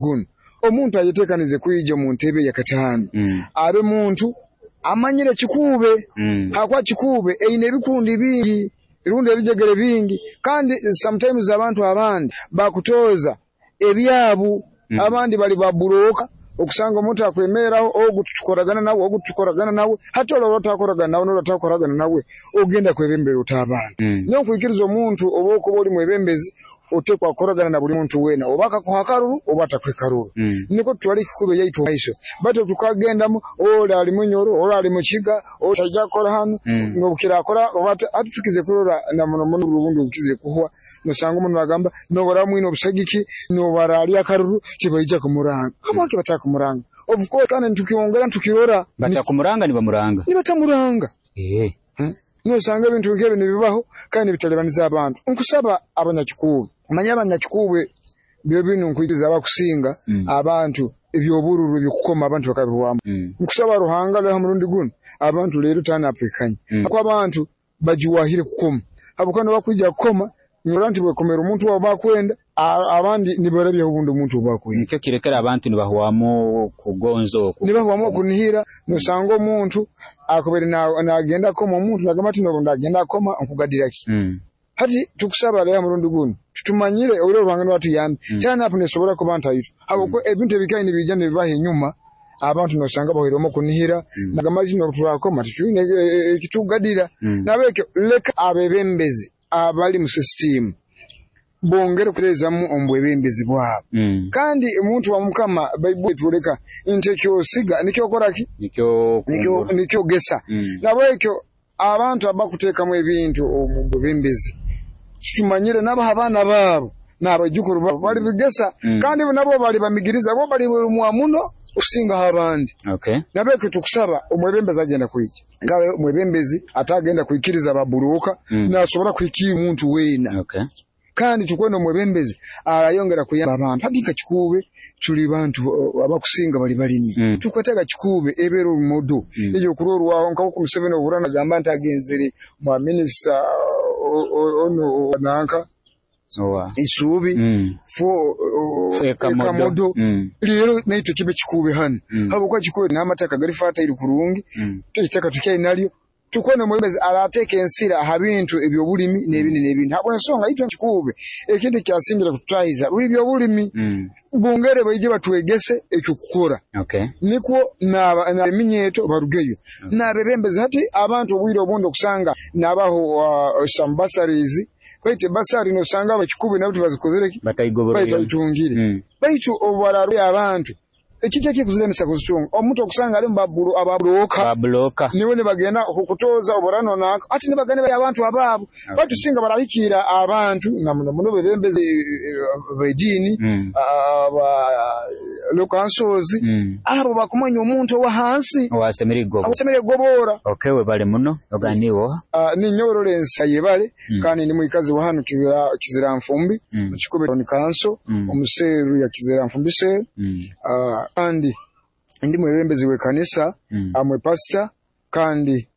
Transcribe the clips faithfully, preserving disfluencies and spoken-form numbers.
Gunu omuntu ayetekanize kwija mu ntebe ya kataano Mm. abe muntu amanyire Kikuube, Mm. hakuba Kikuube eyine ebikundi bingi rundi ebijegere bingi, kandi sometimes abantu abandi bakutoza ebyabu, Mm. abandi bali baburoka, okusanga omuntu akwemeraho ogu tukoragana nawe, ogu tukoragana nawe, hati olwo otakoragana nawe n'olwo otakoragana nawe ogenda kwebembera ota abantu. Mm. Nyowe nkwikiriza omuntu oba okuba oli mwebembezi otekwa kukoragana na buli muntu weena, oba akakuha akaruru oba atakuha akaruru, Mm. nikwo tutwale Kikuube yaitu omu maiso. Baitu tukagendamu oli ali Munyoro, oli ali Mukiga, oli taija kukora hanu, Mm. n'obukirakora oba hati tukize kurora na muno muno obundi obukize kuhwa, nosanga omuntu nagamba nobara mwine obusagiki, nobara ali akaruru tibaija kumuranga. Habwaki batakumuranga? Of course kandi nitukyongera nitukirora batakumuranga nibamuranga nibatamuranga. Eh. Hmm? Nosanga ebintu nk'ebi nibibaho kandi nibitalibaniza abantu. Nkusaba abanyakikuube, manya abanyakikuube byo binu nkwikiriza abakusinga Mm. abantu ebyobururu ebyokukoma abantu bakabihwamu. Mm. Nkusaba Ruhanga leho murundi gunu abantu leero tanaapekanye Mm. kuko abantu bagiwahire kukoma, habwokuba nibakwija kukoma nirora nti bwekomera omuntu wabo bakwenda, abandi nibarabyaho obundi omuntu obu bakwenda. Nikyo kirekera abantu nibahwamu kugonza oku nibahwamu okunihira. Nosanga omuntu akubere nagenda kukoma, omuntu nagamba ati nobu ndagenda kukoma nkugadira ki? Mm. Hati tukusaba leero murundi gunu tutumanyire obwire Ruhanga niwe atuyambe, Mm. turn-up nesobora kuba ntaito, habwokuba ebintu ebikaire nibiija nibibaho enyuma, abantu nosanga bahwairemu okunihira, Mm. nagamba ati nobu turakoma titwine ekitugadira. Mm. Nabwekyo leka abebembezi abali mu sisitimu bongere kuterezamu omu bwebembezi bwabo. Mm. Kandi omuntu wa Mukama, Baibuli etwoleka nti ekyosiga nikyo okora ki? Nikyo Nikyo nikyo ogesa. Mm. Nabwekyo abantu abakuteekamu ebintu omu bwebembezi tutumanyire nabo abaana baabo n'abaijukuru baabo bali bigesa, Mm. kandi nabo bali bamigiriza, bo bali mwa muno okusingaho abandi. Okay. Nabwekyo tukusaba omwebembezi agenda kwija ngabe omwebembezi atagenda kwikiriza baburuka, Mm. nasobora kuhikira omuntu weena. Okay. Kandi tukwenda omwebembezi arayongera kuyamba abantu. Hati nka Kikuube tuli bantu abakusinga bali balimi, Mm. tukwetaga Kikuube ebeera orumodo Mm. eyokurorwaho nka Museveni obura nagamba nti agenzere mwa minisita ono nanka Owa. Isuubi Mm. fo Ekamodo. Ekamodo. Mm. Leero naitwe kibe Kikuube hanu, Mm. habwokuba Kikuube n'amataka gari fertile kurungi, Mm. eitaka tukyali nalyo. Tukwenda omwebembezi arateeka ensira aha bintu ebyobulimi n'ebindi n'ebindi, habw'ensonga itwe Kikuube ekintu ekyasingira kututahiza buli byobulimi. Mm. Bongere baije batwegese ekyokukora, Okay. nikwo n'eminyeeto barugeyo n'abebembezi. Hati abantu obwire obundi okusanga nabaho uh, some bursaries, baitu basari nosanga abakikuube nabo tibazikozere ki? Bataigoborera. Baitayitungire. Mm. Baitu obubararwe abantu ekiki ekikuziremesa kuzitunga, omuntu okusanga alimu ababuroka Babuloka. niwe nibagenda kukutoza oburano naka ati nibagenda bali abantu abaabo. Okay. Baitu singa barahikira abantu na muno muno bebembezi b'ediini, Mm. aba local councils, Mm. abo bakumanya omuntu owa hansi owasemere gobo awasemere gobora. Okay, webale muno oganiwo. Uh, ninyowe Lawrence Ayebare, Mm. kandi ndi mwikazi wa hano Kizira, Kizira Nfumbi, Mm. mu Kikuube Town Council, Mm. omuseeru ya Kizira Nfumbi seeru. Mm. Uh, kandi ndi mwebembezi w'ekanisa, Mm. amwe pastor, kandi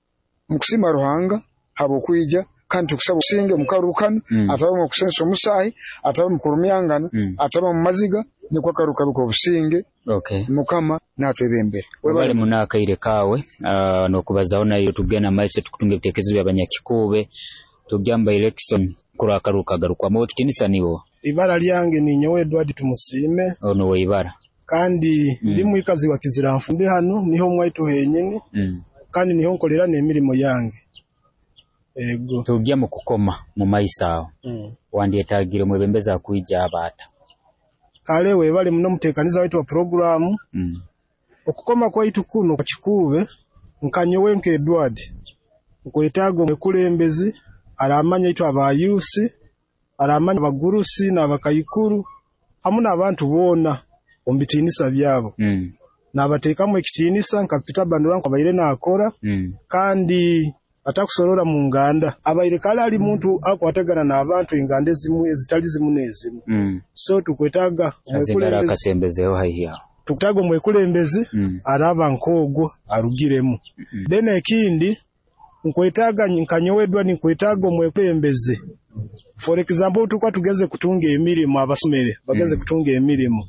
nkusima Ruhanga habwokwija, kandi tukusaba obusinge omu karuru kanu, Mm. atabe mu kusensa omusaahi, atabe mu kurumyangana, Mm. atabe mu maziga, nikwo akaruru kabe k'obusinge. Okay. Mukama natwebembere. Webale muno akaire kawe uh, n'okubazaho nayo tugenda maiso tukutunga ebitekerezo by'abanyakikuube tugamba election kuri akaruru kagarukwamu. Okitinisa nibo? Ibara lyange ninyowe Edward Tumusiime. Ono weibara. Kandi Mm. ndi mwikazi wa Kizira Nfumbi, hano niho mwaitu henyini, Mm. kandi niho nkolera n'emirimo yange ego. Tujya mu kukoma mu maiso aho, Mm. wandyetagire omwebembezi akwija abaata? Kale webale muno mutekaniza waitu wa programu. Mm. Okukoma kwaitu kuno kwa Kikuube, nkanyowe nka Edward nkwetaaga omwekulembezi aramanya itwe abayusi, aramanya abagurusi n'abakaikuru hamu n'abantu boona omu bitiinisa byabo, Mm. n'abateekamu ekitiinisa nka Peter Bandura nkabaire naakora, Mm. kandi atakusorora mu nganda, abaire kale ali muntu akwatagana n'abantu enganda ezimu ezitali zimu n'ezimu. Mm. So tukwetaaga azengara omwekulembezi akasembezeho haihi aho. Tukutaaga omwekulembezi Mm. araba nk'ogwo arugiremu. Mm. Then ekindi nkwetaaga nkanyowe Edward nkwetaaga omwekulembezi, for example tukuba tugeze kutunga emirimu, abasomere bageze Mm. kutunga emirimu.